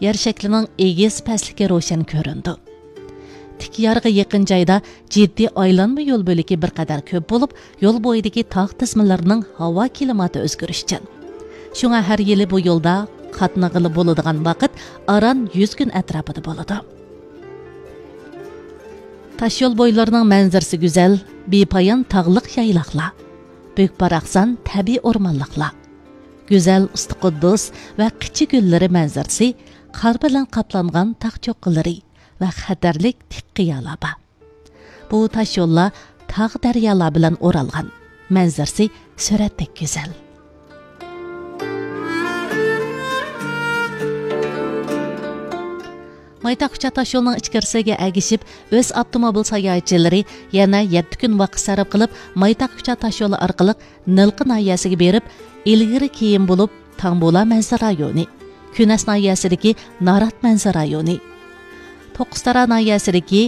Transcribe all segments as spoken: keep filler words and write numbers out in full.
يەر شەكلىنىڭ ئېگىز پەسلىكى روشەن كۆرۈنىدۇ. تىك يارغا يېقىن جايدا جىددىي ئايلانما يول بۆلىكى بىر قەدەر كۆپ بولۇپ، يول بويىدىكى تاغ تىزمىلىرىنىڭ ھاۋا كىلىماتى ئۆزگىرىشچان. شۇڭا ھەر يىلى بۇ يولدا قاتنىغىلى بولىدىغان ۋاقىت ئاران يۈز كۈن ئەتراپىدا بولىدۇ. تاشيول بويلىرىنىڭ مەنزىرىسى گۈزەل، بىپايان تاغلىق يايلاقلار، بۈك-باراقسان تەبىئىي ئورمانلىقلار، گۈزەل ئۇستى قۇددۇس ۋە قىچا كۆللىرى مەنزىرىسى قار بىلەن قاپلانغان تاغ چوققىلىرى ۋە خەتەرلىك تىك قىيالار بار. بۇ تاشيوللار تاغ دەريالار بىلەن ئورالغان، مەنزىرىسى سۈرەتتەك گۈزەل. مايتاق كۇچا تاشيولىنىڭ ئىچكىرىسىگە ئەگىشىپ، ئۆز ئاپتوموبىل ساياھەتچىلىرى يەنە يەتتە كۈن ۋاقىت سەرپ قىلىپ، مايتاق كۇچا تاشيولى ئارقىلىق نىلقا ناھىيەسىگە بېرىپ، ئىلگىرى كېيىن بولۇپ، تاڭبۇلا مەنزىرە رايونى، كۈنەس ناھىيەسىدىكى نارات مەنزىرە رايونى، توققۇزتارا ناھىيەسىدىكى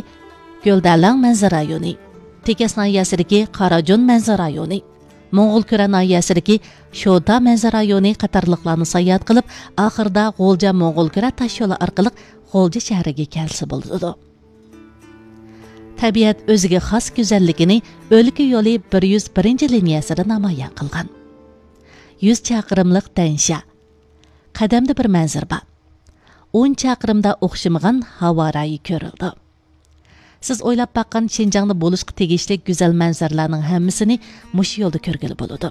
گۆلدەلەڭ مەنزىرە رايونى، تېكەس ناھىيەسىدىكى قاراجون مەنزىرە رايونى، موڭغۇلكۈرە ناھىيەسىدىكى شوتا مەنزىرە رايونى قاتارلىقلارنى ساياھەت قىلىپ، ئاخىرىدا غۇلجا موڭغۇلكۈرە تاشيولى ئارقىلىق غۇلجا شەھىرىگە كەلسە بولىدۇ. تەبىئەت ئۆزىگە خاس گۈزەللىكىنى ئۆلكە يولى بىر يۈز بىرىنچى لىنىيەسىدە نامايان قىلغان. يۈز چاقىرىملىق دەنشا. قەدەمدە بىر مەنزىرە بار. ئون چاقىرىمدا ئوخشىمىغان ھاۋا رايى كۆرۈلىدۇ. سىز ئويلاپ باققان شىنجاڭدا بولۇشقا تېگىشلىك گۈزەل مەنزىرىلەرنىڭ ھەممىسىنى مۇشۇ يولدا كۆرگىلى بولىدۇ.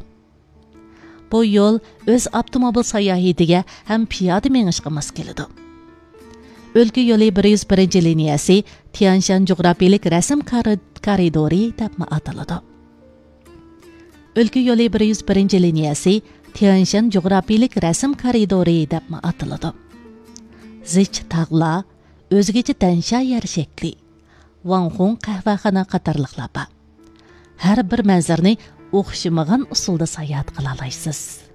بۇ يول ئۆز ئاپتوموبىل ساياھىتىگە ھەم پىيادە مېڭىشقا ماس كېلىدۇ. ئۆلكە يولى بىر يۈز بىرىنچى لىنىيەسى تيەنشان جۇغراپىيىلىك رەسىم كارى-، كارىدورى دەپمۇ ئاتىلىدۇ. ئۆلكە يولى بىر يۈز بىرىنچى لىنىيەسى تيەنشان جۇغراپىيىلىك رەسىم كارىدورى دەپمۇ ئاتىلىدۇ. زىچ تاغلار، ئۆزگىچە دەنشا يەر شەكلى، ۋاڭخۇڭ قەھۋەخانا قاتارلىقلار بار. ھەر بىر مەنزىرىنى ئوخشىمىغان ئۇسۇلدا ساياھەت قىلالايسىز.